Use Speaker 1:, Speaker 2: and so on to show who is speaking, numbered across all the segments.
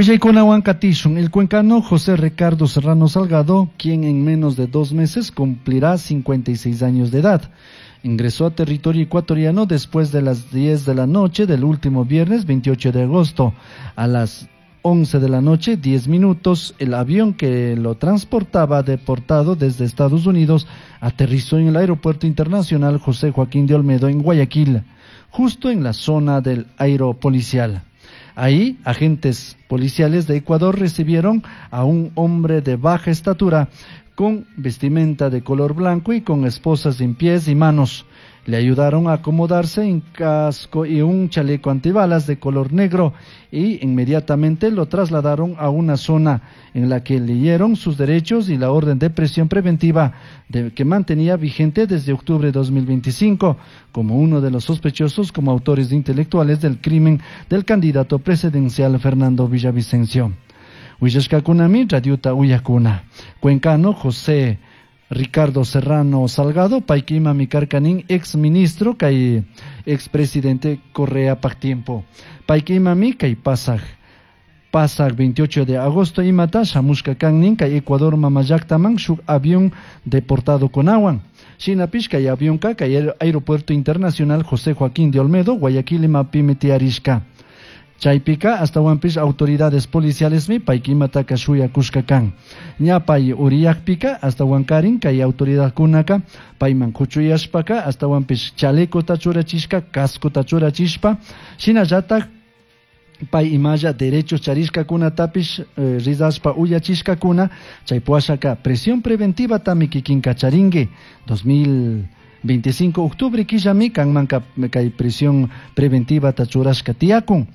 Speaker 1: Willaykunawan katishun. El cuencano José Ricardo Serrano Salgado, quien en menos de 2 meses cumplirá 56 años de edad, ingresó a territorio ecuatoriano después de las 10 de la noche del último viernes 28 de agosto. A las 11 de la noche, 10 minutos, el avión que lo transportaba deportado desde Estados Unidos aterrizó en el Aeropuerto Internacional José Joaquín de Olmedo en Guayaquil, justo en la zona del aeropolicial. Ahí, agentes policiales de Ecuador recibieron a un hombre de baja estatura con vestimenta de color blanco y con esposas en pies y manos. Le ayudaron a acomodarse en casco y un chaleco antibalas de color negro y inmediatamente lo trasladaron a una zona en la que leyeron sus derechos y la orden de prisión preventiva que mantenía vigente desde octubre de 2025 como uno de los sospechosos como autores intelectuales del crimen del candidato presidencial Fernando Villavicencio. Willashkakunami radiota uyakuna. Cuencano José Ricardo Serrano Salgado, payka imami karkanin ex ministro kay ex presidente Correa pak tiempo. Payka imami kay pasaj 28 de agosto imata shamushka kannin kay Ecuador mamallaktaman shuk avión deportado kunawan. Shinapish kay avionka kay Aeropuerto Internacional José Joaquín de Olmedo, Guayaquil imapimi tiyarishka. Chaypika astawanpish autoridades policialesmi paykimataka shuyakushka kan. Ña pay uriyakpika astawankarin kay autoridadkunaka payman kuchuyashpaka astawanpish chalecota churachishka, cascota churachishpa, shinallatak pay imalla derechos charishkakunatapish rizashpa uyachishkakuna, chay puashaka prisión preventiva tami kikinka charinki. 2025 octubre killami kanmanka kay prisión preventiva ta churashka tiyakun.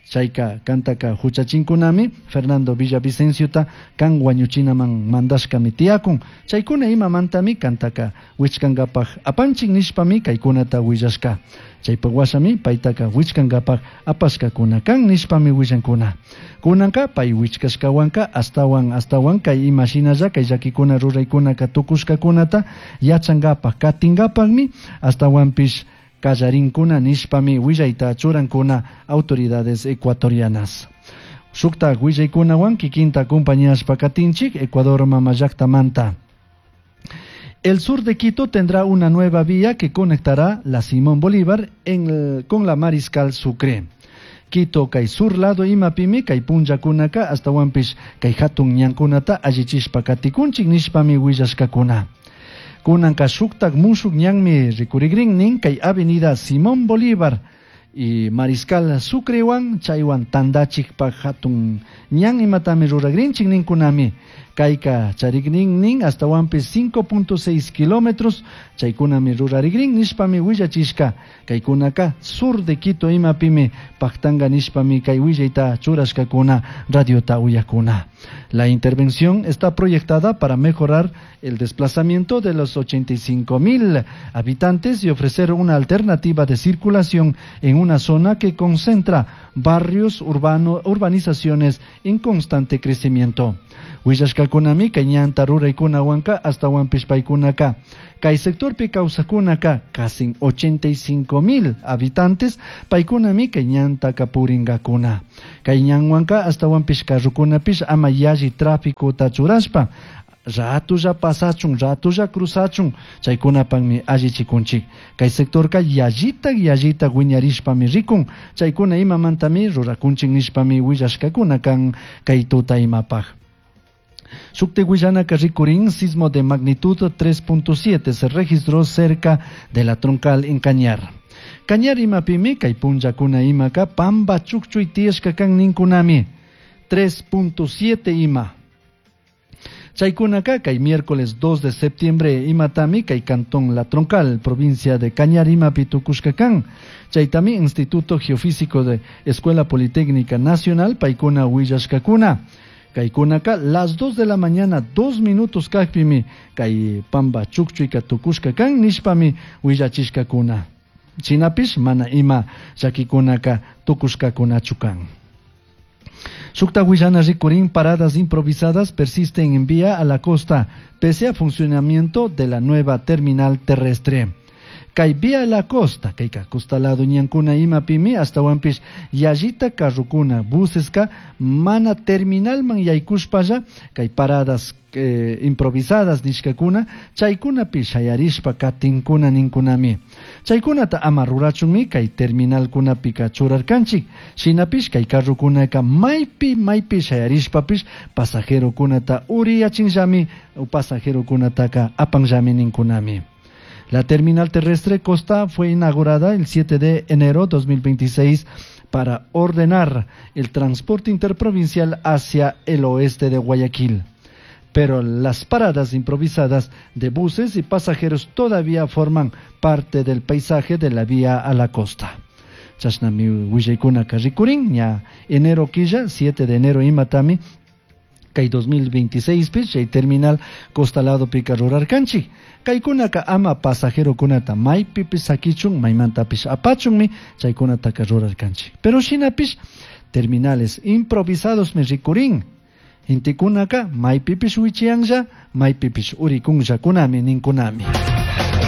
Speaker 1: Chayka kantaka huchachinkunami Fernando Villavicenciota kan wañuchinaman mandashkami tiyakun. Chaykuna imamantami kantaka wichkankapaj apanchin nishpami kaykunata willashka. Chaypak washami paytaka wichkankapaj apashkakuna kan nishpami willankuna. Kunanka pay wichkashkawanka astawan astawan kay imashinalla kay llakikuna ruraykunaka tukushkakunata yachankapaj katinkapajmi astawanpish kallarinkuna nishpami willayta churankuna autoridades ecuatorianas. Shuktak willaykunawan kikinta acompañashpa katinchik Ecuador mama llaktamanta. El sur de Quito tendrá una nueva vía que conectará la Simón Bolívar con la Mariscal Sucre. Quito kay sur lado imapimi kay punllakunaka astawanpish kay hatun ñankunata allichishpa katikunchik nishpami willashkakuna. Kunanka shuktak mushuk ñanmi rikurigrin nin kay avenida Simón Bolívar y Mariscal Sucrewan chaywan tandachikpak hatun ñan imatami ruragrinchik ninkunami. Kayka charigrin nin astawanpish 5.6 kilómetros chaykunami rurarigrin nishpami willachishka. Kaykunaka sur de Quito imapimi paktanga nishpami kay willayta churashkakuna radiota uyakuna. La intervención está proyectada para mejorar el desplazamiento de los 85.000 habitantes y ofrecer una alternativa de circulación en una zona que concentra barrios urbanizaciones en constante crecimiento. Willashkakunami kay ñanta ruraykunawanka astawanpish paykunaka. Kay sectorpi kawsakunaka casi 85.000 habitantes paykunami kay ñantaka purinkakuna. Kay ñanwanka astawanpish carrokunapish ama yalli tráficota churashpa ratulla pasachun, ratulla cruzachun, chaykunapakmi allichikunchik. Kay sectorka yallita yallita wiñarishpami rikun, chaykuna imamantami rurakunchik nishpami willashkakuna kan kay tuta imapaj. Shukti willanaka rikurin, sismo de magnitud 3.7 se registró cerca de la troncal en Cañar. Cañar imapimi, kay punllakuna imaka, pamba chukchuy tiyashka kan ninkunami. 3.7 ima. Chaykunaka, kay miércoles 2 de septiembre imatami, kay cantón La Troncal, provincia de Cañar imapi tukushka kan. Chaytami, Instituto Geofísico de Escuela Politécnica Nacional, paykuna willashkakuna. Kaykunaka, las 2 de la mañana, 2 minutos kakpimi, kay pamba chukchuyka tukushka kan nishpami willachishkakuna. Shinapish mana ima llakikunaka tukushkakunachu kan. Shukta willana rikurin, paradas improvisadas persisten en vía a la costa, pese a funcionamiento de la nueva terminal terrestre. Kay vía la costa, kayka costa lado ñankuna imapimi ashtawanpish yallita carrokuna buseska mana terminalman yaykushpalla kay paradas improvisadas nishkakuna chaykunapi shayarishpa katinkuna ninkunami. Chaykunata ama rurachunmi kay terminalkunapika churarkanchik. Shinapish kay carrokunaka maypi maypi shayarishpapish pasajerokunata uriyachinllami pasajerokunataka apanllami ninkunami. La terminal terrestre Costa fue inaugurada el 7 de enero 2026 para ordenar el transporte interprovincial hacia el oeste de Guayaquil. Pero las paradas improvisadas de buses y pasajeros todavía forman parte del paisaje de la vía a la costa. Chashnami willaykunaka rikurin, ña enero quilla, 7 de enero imatami, kay 2026 pi chay terminal costa ladopika rurarkanchik. Kaykunaka ama pasajerokunata maypipish sakichun, maymantapish apachunmi chaykunataka rurarkanchik. Pero shinapish terminales improvisadosmi rikurin. Gentekunaka maypipish wichiyanlla, maypipish urikunllakunami ninkunami.